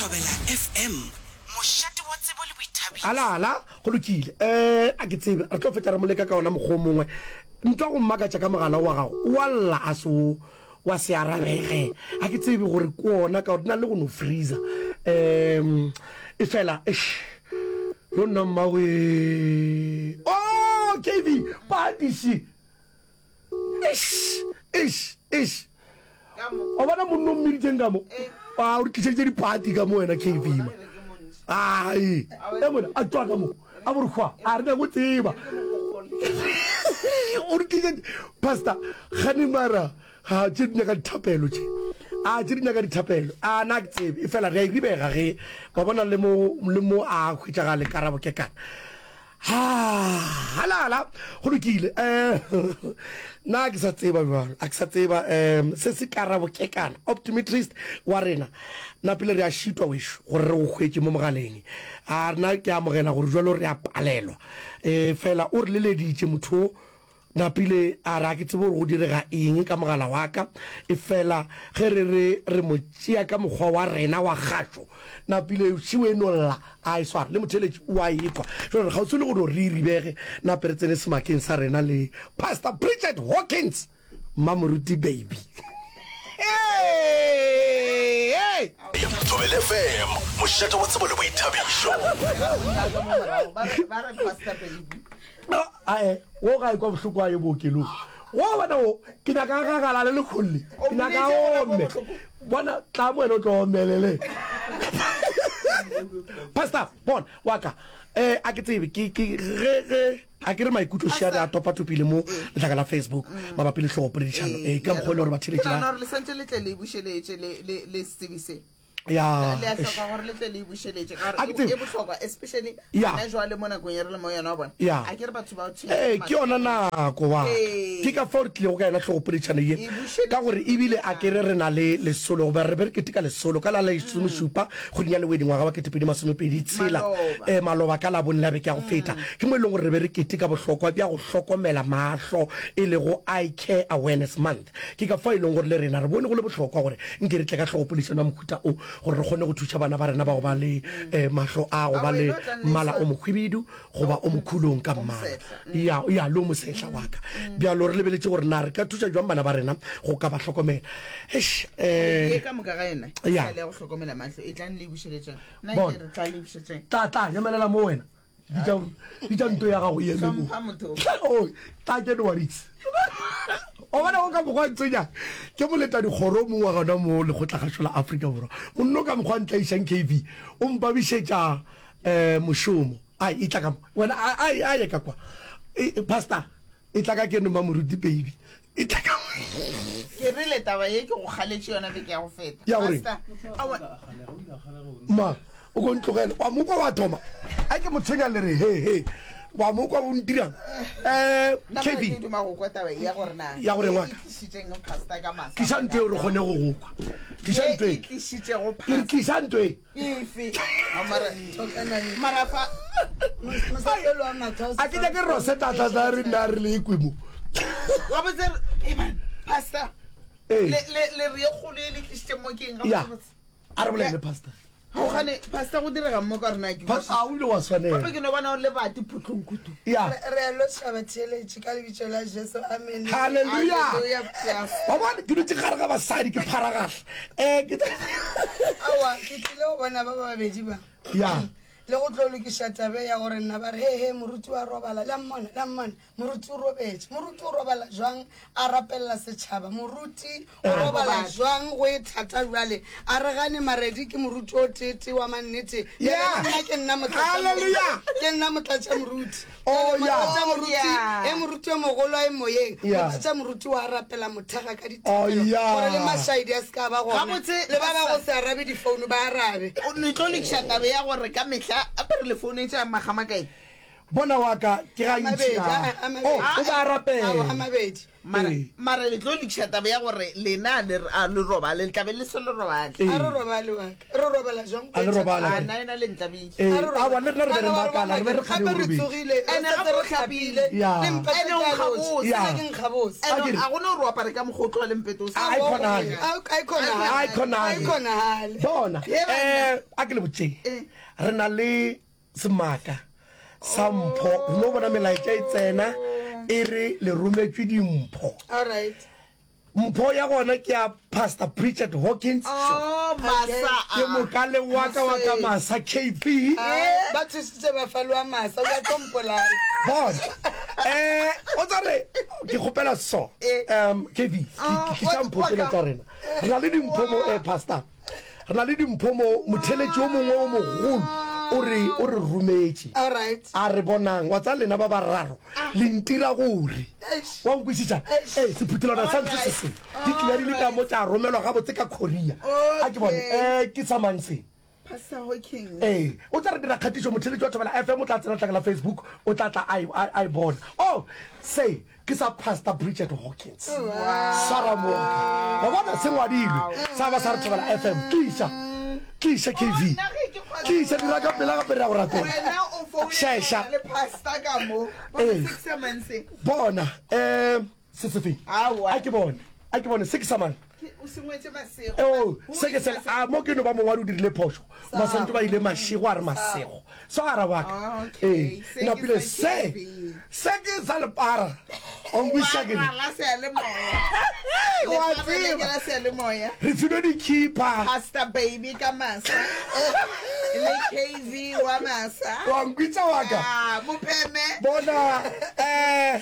Thobela FM, mošate wa tsebo le boithabišo. Ala, ala, go lokile. Eh, a ke tsebe, re tlo fetša re mo leka ka ona mokgwa o mongwe. Ntwa go mmakatša ka mogala wa gago, wa lla a se o, wa se arabege. A ke tsebe gore ke ona ka gore di na le go no freezer. Um, e fela, eish, yo nna mmawe. Oh, KB, padiši. Eish, eish, eish. Wa bona monna o mmiditseng ka mo? A o re tlišeditše dipati ka mo wena KB ma. Ai, e mona a tšwa ka mo. A bo re hwa, a re nyako tseba. O re tlišeditše pastor gane mara ha tše di nyaka dithapelo tše. A tše di nyaka dithapelo. A na ke tsebe e fela re a e ribega ge wa bona le mo le mo a hwetšagale karabo ke kana. Halala, go lokile. Um nna ke sa tseba bjalo, a ke sa tseba um se se karabo kekana optometrist wa rena na pele re a šitwa wešo gore re go hwetše mo mogaleng. A rena ke amogela gore jalo re a palelwa. Um fela o re leleditše motho o Napile a re, A ke tsebe gore go direga eng ka mogala wa ka, efela ge re re re mo tšea ka mokgwa wa rena wa kgašo, Napile šiwe e no lla, a e swara. Le motheeletši o a e kwa. Jwale re kgauswi le go no re e ribege, nape re tsene semakeng sa rena le Pastor Bridget Hawkins, Mmamoruti Baby. Hey! Hey! Thobela FM, mošate wa tsebo le boithabišo. Ba re Pastor Baby. Ae, wo ga e kwa bohloko a ye bookelong. Wo bona wo, ke nyaka a gagalale le kgolle. Ke nyaka a ome. Bona, tla mo wena o tlo omelele. Pastor, bona, wa ka. Eh, a ke tsebe, ke, ke, ge, ge, a ke re maikutlo šia re a topatopile mo letlaka la Facebook mabapi le hlogopoledišano. Eh, ka mokgwa e le gore batheeletši ba. Ke nagana gore le santše le tle le e bušeletše le, le, le setsebi se. Ya. Le a hloka gore le tle le e bušeletše ka A ke gore tsebe. e bohlokwa especially Ya. gona jwale mo nakong e re le mo yona wa bona. Ya. A ke re batho ba tshwenya Ee, ke ke yona nako wa ka. Ee. Ke ka fao re tlilego ka yona hlogopoledišano ye, E bušeletše ka gore ebile a ke re re na le lesolo, goba re be re keteka lesolo ka la lesomešupa kgweding ya Lewedi ngwaga wa 2026, Maloba. ee, maloba ka Labone la beke ya go feta. Ke mo e leng gore re be re keteka bohlokwa bja go hlokomela mahlo, e lego Eye Care Awareness Month. Ke ka fao e leng gore le rena re bone go le bohlokwa gore nke re tle ka hlogopoledišano ya mohuta o gore re kgone go thuša bana ba rena ba go ba le mahlo a go ba le mmala o mokhwibidu goba o mokhulong ka mmala. Ya, ya, le o mosehla wa ka. Bjalo re lebeletše gore na re ka thuša bjang bana ba rena go ka ba hlokomela. Eish, Ye ka moka ga yona Ya. e sa le ya go hlokomela mahlo. Etlang le e bušeletšeng. Nna Bona. ke re tla le bušetšeng. Tla, tla, emelela mo wena. Bitša, bitša nto ya gago e eme mo. Hlompha motho. Oh, tla ke no wa ditse. O bona go ka mokgwa ntsenya ke moleta dikgoro mong wa gona mo lekgotlakgašo la Afrika Borwa. Monno ka mokgwa ntlaišang KV o mpabišetša eh mošomo. Ai e tla ka mo. Wena ai ai ye ka kwa. E, pastor e tla ka keno mamoruti baby. E tla ka Ke rile taba ye ke go kgaletše yona beke ya go feta. Ya gore? Pastor, aowa. Ma, o ko ntlogele. Wa mo kwa wa thoma. A ke mo tshwenya le re he he. Wa mo kwa o ntirang. Eh, Nna mara KB. ke duma go kwa taba ye ya gore na. Ya gore ye ngwaka. e tlišitšeng pastor ka masa. Tliša ntho eo re kgone go go kwa. Tliša Ye ntho e. e tlišitšego Ke re pastor. tliša ntho e. Efe? Mara, mara fa. A ke nyake Rosetta a tla tla re nna re le kwe mo. Gabotse, eh man, pastor. Ee. Le le le re ye kgolo e le tlišitše mo ke eng Ya. gabotse? A re bolele le pastor. Gogane pastor go direga mo ka rena ke. Pastor a o ile wa swanela. Gape ke no bona o le bati phutlong kudu. Ya. Re a lotšha batheeletši ka lebitso la Jesu. Amen. Hallelujah. Hallelujah, pastor. Wa bona ke dutše gare ga basadi ke pharagahla. Eh ke Aowa, ke tlile go bona ba babedi ba. Ya. Le go tlo lokiša tabe ya gore nna ba re he he moruti wa robala le a mmona le a mmona moruti o robetše moruti o robala jwang a rapelela setšhaba moruti o Eh. robala jwang go e thata jwale a re gane maredi ke moruti o tete wa mannete Yeah. nna ke nna motlatša Hallelujah. ke nna motlatša moruti Oh, Jwale yeah. motlatša moruti Oh, yeah. e moruti yo mogolo a e moyeng Yeah. motlatša moruti wa rapela mothega ka Oh, dithapelo yeah. gore le mašaedi a se ka ba gona Gabotse, le ba ba go Pastor. se arabe difounu ba arabe O ne tlo lokiša taba ya gore ka mehla a pere le founetše a magamakae. Bona wa ka ke ga ntši a. Oh, o ba a rapela. A mabedi. Mara, mara le tlo lokiša taba ya gore lena le a le robale, le tla be le se le robale. A re robale wa ka. Re robala jwang? A le robala. A nna ena le ntlabile. Ee, aowa le rena re be re makala, re be re kgale Gape o re robetše. tsogile, re Ene setse gape re o hlapile. hlapile. Ya. Le mpete Ene o ke a nkga lotšha. bose. Ya. Nna ke nkga bose. Ene A ke re- a gona gore o apare ka mokgwa o tloga le mpete o sa. A e kgonagale. A e kgonagale. A e kgonagale. A e kgonagale. Bona, Ye banna. eh, a ke le botšeng. Re na le Semaka sa mpho. Re no bona melaetša e tsena e re le rometšwe dimpho. All right. Mpho ya gona ke ya Pastor Pritchard Hawkins. Oh, masa. Ke mokale wa ka wa ka masa KP. Ba thusitse ba faloa masa o ya tlo mpolaya. Bona. Eh, o tsa re ke kgopela so. Um KP, ke tliša mpho tsena tša rena. Re na le dimpho mo eh Pastor. Re na le dimpho mo, motheletši o mongwe o mogolo o re, o re rometše. A re, Bonang, wa tseba lena ba bararo le ntira gore. Wa nkwešiša? Ee, sephuthelwana sa ntho se se. Di tlile di le ka mo tša romelwa gabotse ka courier. A ke bone, eh, ke sa mang se? Pastor Hawkins. Ee, o tla re dira kgatišo, motheletši wa Thobela FM o tla tsena tlakala Facebook, o tla tla a e, a, a e bona. Oh, se. Ke sa Pastor Bridget Hawkins. Swara mooki. Wa bona se ngwadilwe. Sa ba sa re Thobela FM. Tliša. Tliša KV. Tliša dira ka pela gape re ya go rapela. Šeša. Ee. Bona. Eh se se feng? A ke bone. A ke bone se ke sa mang? Oh, se ke sela. A mo ke no ba mongwadi o dirile phošo. Ba santse ba ile mašego a re masego. Swara wa ka. Ee, napile se. Se ke sa lepara. O nkwiša ke. Wa tseba. Re filwe dikhipa. Pastor baby ka masa. Le KV wa masa. Wa nkwitsa wa ka. Ah, mopheme. Bona eh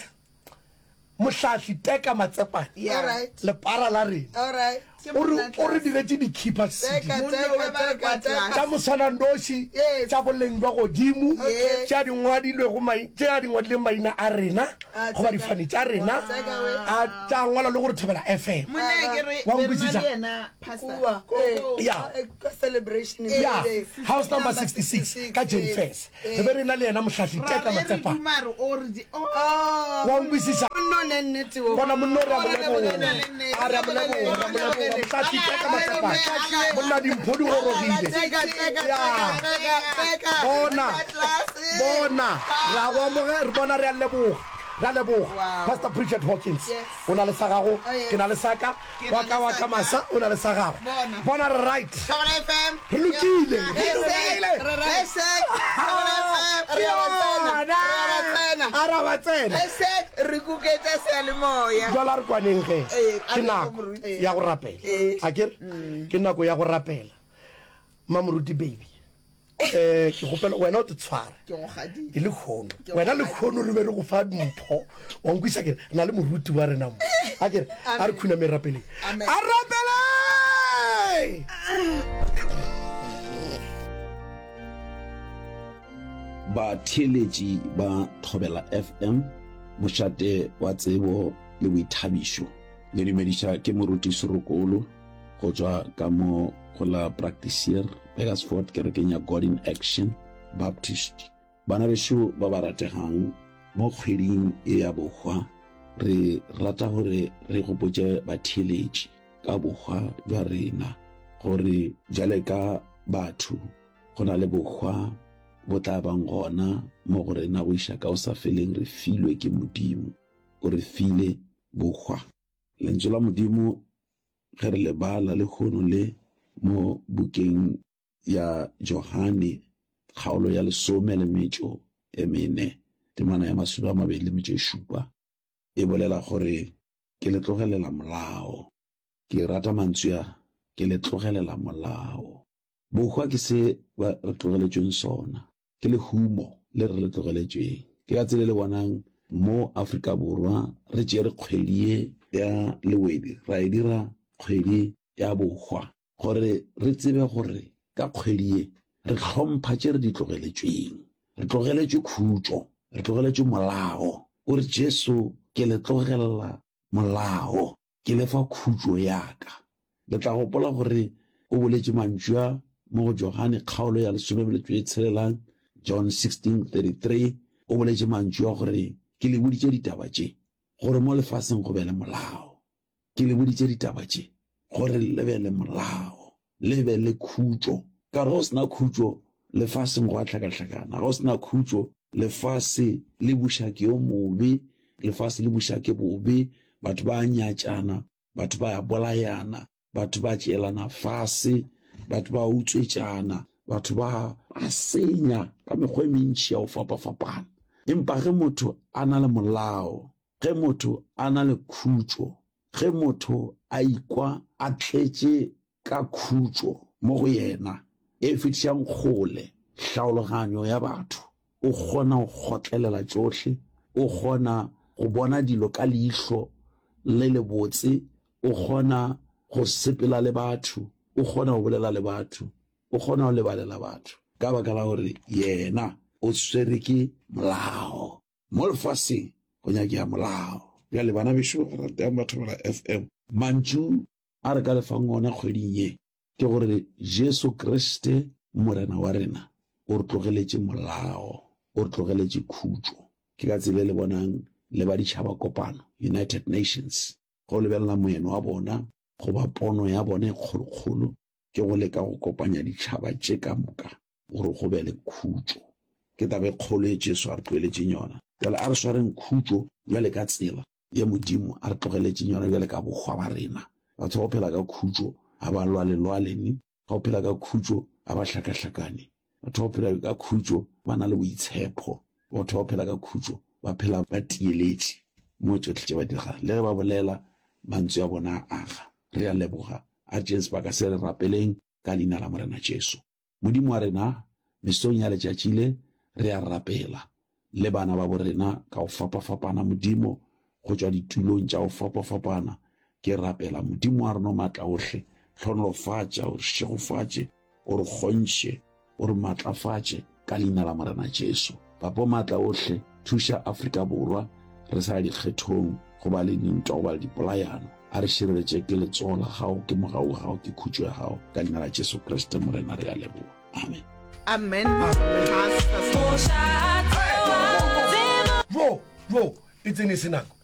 Mohlahli Teka Matsepane, Yeah. Alright. lepara la rena, Alright. o re o re diretše dikhipa CD Teka, teka, teka, teka. tša moswananoši, Yes. tša boleng bja godimo, Okay. tše a di ngwadilwego mai- tše a di ngwadileng maina a rena Ah, goba teka. difane tša rena, Teka we. a tša ngwalwa le gore Thobela FM. Monna ke re Wa be re na nkwešiša? le yena pastor. Kua. Ko- Eh, ko- Yeah. eh, ka celebration. ya Yes. house number 66 ka jane fes re be re na le yena mohlahli Ra teka re re matsepa duma re o re di oh. wa nkwisisa Monna o ne nnete wo. bona monna o re a mo O re leboga leboga. a re a mo leboga re a mo leboga mohlahli teka matsepa monna dimpho di gorogile Teka, teka, Ya. teka, teka. bona bona re a go amoge re bona re a leboga re a leboga pastor Pritchard Hawkins Yes. o na le sa gago Oh, yes. ke na le sa ka Ke wa na ka le wa sa ka ka. masa o na le sa gago Bona. bona re right Thobela FM. re lokile re Hashtag. lokile Re right. Hashtag. Thobela FM. Re a ba tsena. Re a ba tsena. a ra ba tsena Hashtag re kuketša seyalemoya. jalo a re kwaneng ge Ee, a ke re nako go moruti. ya go rapela a kere ke nako ya go rapela mamoruti baby um ke kgopela wena o te tshware Ke go gadile. ke lekgono wena lekgono re be re go fa mpho wa nkwisa kere re na le moruti wa rena mo a kere a re khuname rapeleng Amen. a rapele Batheeletši ba Thobela FM, mošate wa tsebo le boithabišo. Le dumediša ke Moruti Serokolo go tšwa ka mo go la Praktiseer, Burgersfort, kerekeng ya God in Action Baptist. Bana bešo ba ba rategang, mo kgweding ye ya bohwa, re rata gore re gopotše batheeletši ka bohwa bja rena, gore bjale ka batho go na le bohwa bo tla bang gona mo go rena go iša ka go sa feleng re filwe ke Modimo. O re file bohwa. Lentšu la Modimo ge re le bala lehono le mo bukeng ya Johane kgaolo ya lesome le metšo e mene temana ya masome a mabedi le metšo e šupa e bolela gore ke le tlogelela molao. Ke rata mantswe a, ke le tlogelela molao. Bohwa ke se ba re tlogeletšweng sona. Ke lehumo le re le tlogeletšweng. Ke ka tsela e le bonang mo Afrika Borwa re tšere kgwedi ye ya Lewedi ra e dira kgwedi ya bohwa gore re tsebe gore ka kgwedi ye re hlompha tše re di tlogeletšweng. Re tlogeletšwe khutšo, re tlogeletšwe molao. O re Jesu ke le tlogelela molao. Ke le fa khutšo ya ka. Le tla gopola gore o boletše mantšu a mo go Johane kgaolo ya lesomemetšo e tshelelang, John 16:33. o boletše mantšu a gore, Ke le boditše ditaba tše, gore mo lefaseng go be le molao. Ke le boditše ditaba tše, gore le be le molao, le be le khutšo. Ka gore ge go se na khutšo, lefaseng go a hlakahlakana. Ge go se na khutšo, lefase le buša ke yo mobe, lefase le buša ke bobe, batho ba a nyatšana, batho ba a bolayana, batho ba tšeelana fase, batho ba utswetšana, batho ba a senya ka mekgwa e mentši ya go fapafapana. Empa ge motho a na le molao, ge motho a na le khutšo, ge motho a ikwa a tletše ka khutšo mo go yena e fetišang kgole hlaologanyo ya batho, o kgona go kgotlelela tšohle, o kgona go bona dilo ka leihlo le lebotse, o kgona go sepela le batho, o kgona go bolela le batho, o kgona go lebalela batho ka baka la gore yena o swere ke molao. Mo lefaseng go nyakega molao. Bjale bana bešo ba ratang ba Thobela FM, mantšu a re ka le fang ona kgweding ye ke gore Jesu Kriste Morena wa rena o re tlogeletše molao, o re tlogeletše khutšo. Ke ka tsela e le bonang le ba Ditšhaba Kopano, United Nations, ge o lebelela moeno wa bona goba pono ya bona e kgolokgolo ke go leka go kopanya ditšhaba tše ka moka gore go be le khutšo. Ke taba e kgolo ye Jesu a re tlogeletšeng yona. Bjale a re swareng khutšo bjale ka tsela ye Modimo a re tlogeletšeng yona bjale ka bohwa ba rena. Batho ba go phela ka khutšo ga ba lwalelwale, ba go phela ka khutšo ga ba hlakahlakane. Batho ba go phela ka khutšo ba na le boitshepho. Batho ba go phela ka khutšo ba phela ba tieletše mo tšohle tše ba di dirago. Le ge ba bolela, mantswe a bona a aga. Re a leboga. A re tšeeng sebaka se re rapeleng ka leina la Morena Jesu. Modimo wa rena, mesong ya letšatši le, re a rapela le bana babo rena ka go fapafapana, Modimo, go tšwa ditulong tša go fapafapana. Ke rapela, Modimo wa rena o Maatlaohle, hlohonolofatša, o re šegofatše, o re kgontšhe, o re maatlafatše, ka Leina la Morena Jesu. Papa o Maatlaohle, thuša Afrika Borwa, re sa ya dikgethong, go ba le dintwa, go ba le dipolayano. A re šireletše ke letsogo la Gago, ke mogau wa Gago, ke khutšo ya Gago. Ka Leina la Jesu Kriste, Morena, re a leboga. Amen. Amen. Pastor. Jo, jo, e tsene e se nako.